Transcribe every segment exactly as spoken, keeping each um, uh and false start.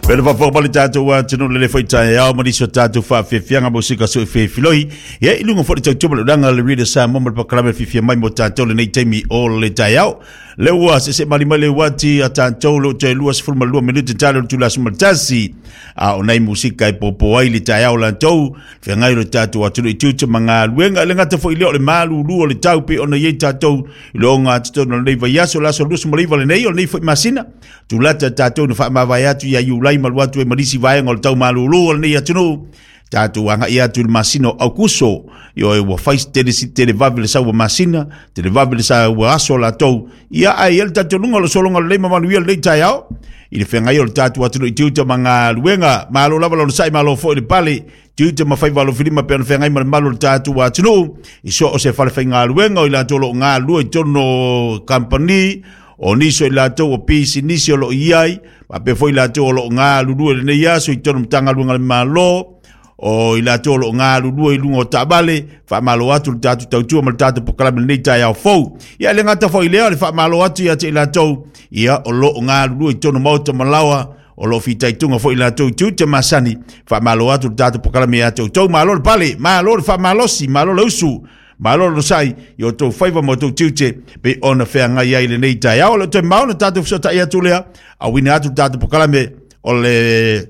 Pele faafofoga mai le tatou atunuu le foi taeao ma nisi o tatou faafiafiaga mo sika sui filifiloi. Ia i luga foi le tautua ma le ulaga le Reader Samoa ma le pakalame fiafia mai mo tatou lenei taimi o le taeao. Le ua sese mali mai le uati a tatou lo te lua sefulu ma lua minute talo le itula sefulu ma le tasi. A o nai musika e popo ai le taeao latou, feagai le tatou atunuu i tiute ma galuega. E le gata foi lea o le malulu o le tau pei ona i ai tatou i le ogatotonu o lenei vaiaso, le aso luasefulu ma le iva lenei o lenei foi masina. Tulata tatou na faamavae atu ia Iulai ma alu atu ai ma nisi vaega o le tau malulu o lenei atunuu. Tatou agai atu i le masina o Aukuso, ioe, ua fai tele tele vave le sau o masina, tele vave le sau aso latou. Ia ai le talitonuga o le sologa lelei ma manuia lenei taeao i le feagai o le tatou atunuu i tiute ma galuega. Malo lava le onosai, malo foi le pale, tiute ma faiva alofilima pe ona feagai ma le malu o le tatou atunuu i so o se falefaigaluega o i latou o lo o galulue i totonu o kamupani, o nisi o i latou o pisinisi o lo o i ai, faapea foi i latou o lo o galulue i lenei aso i totonu o Matagaluega a le Malo, o i latou o lo o galulue i luga o taavale. Faamalo atu le tatou tautua ma le tatou polokalame lenei taeao fou. Ia e le gata foi i lea o le faamalo atu ia te i latou ia o lo o galulue i totonu o maota ma laoa, o lo o fitaituga foi i latou i tiute masani. Faamalo atu le tatou polokalame ia te outou. Malo le pale, malo le faamalosi, malo le usu, malo le onosai i o outou faiva ma outou tiute pei ona feagai ai lenei taeao. O le toe mao na tatou fesootai atu lea, auina atu le tatou polokalame o le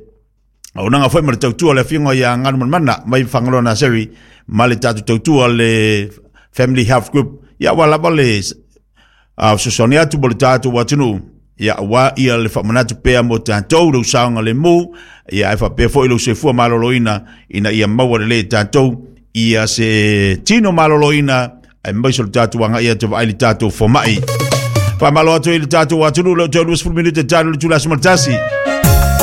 auaunaga foi ma le tautua o le afioga ia Galumalemana mai Fagaloa Naseri ma le tatou tautua le Family Health Group. Ia aua lava le fesoasoani atu mo le tatou atunuu, ia aua ia le faamanatu pea mo tatou lou saogalemu, ia ae faapea foi lou soifua maloloina ina ia maua lelei e tatou ia se tino maloloina aemaise o le tatou agai atu e vaai le tatou fomai. Faamalo atu i le tatou atunuu le toe luasefulu minute talu le itula sefulu ma le tasi.